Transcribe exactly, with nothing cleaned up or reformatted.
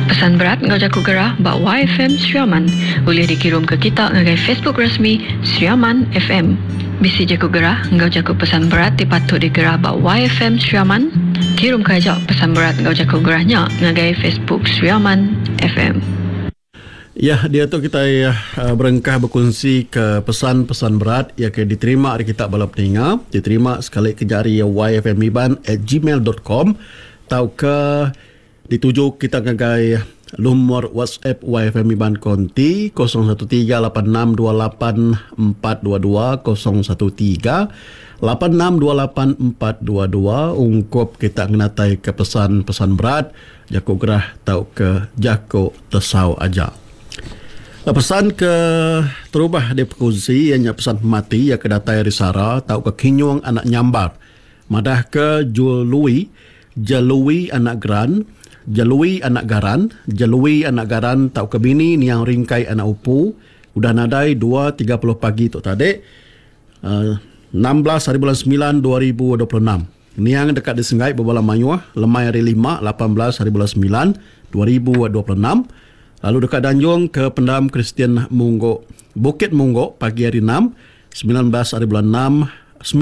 Pesan berat enggau jaku gerah ba Y F M Sri Aman ulih dikirum ke kita ngagai Facebook resmi Sri Aman F M. Bisi jaku gerah enggau jaku pesan berat ti patut digerah ba Y F M Sri Aman? Kirum ke aja pesan berat enggau jaku gerah nya ngagai Facebook Sri Aman F M. Ya, dia tu kita uh, berengkah berkongsi ke pesan-pesan berat yang ke diterima dari kita bala peninga, diterima sekali ke jari y f m iban at gmail dot com tau ke dituju kita ngagai lumur WhatsApp Y F M Iban Konti kosong satu tiga lapan enam dua lapan empat dua dua kosong satu tiga lapan enam dua lapan empat dua dua ungkup kita ngenatai ke pesan-pesan berat jaku gerah tau ke jaku tesau aja. Pesan ke terubah di perkongsi ianya pesan pemati yang ke datai ari Sara tau ke Kinyung anak Nyambar madah ke Jului Jelui anak Gran Jelui anak Garan, Jelui anak Garan tau ke bini niang Ringkai anak Upu udah nadai dua tiga puluh pagi tu tadi uh, enam belas hari bulan sembilan dua ribu dua puluh enam. Niang dekat di Senggai berbala mayuh lemai hari lima lapan belas hari bulan sembilan dua ribu dua puluh enam. Lalu dekat Danjung ke Pendam Kristian Munggok Bukit Munggok pagi hari enam sembilan belas hari bulan enam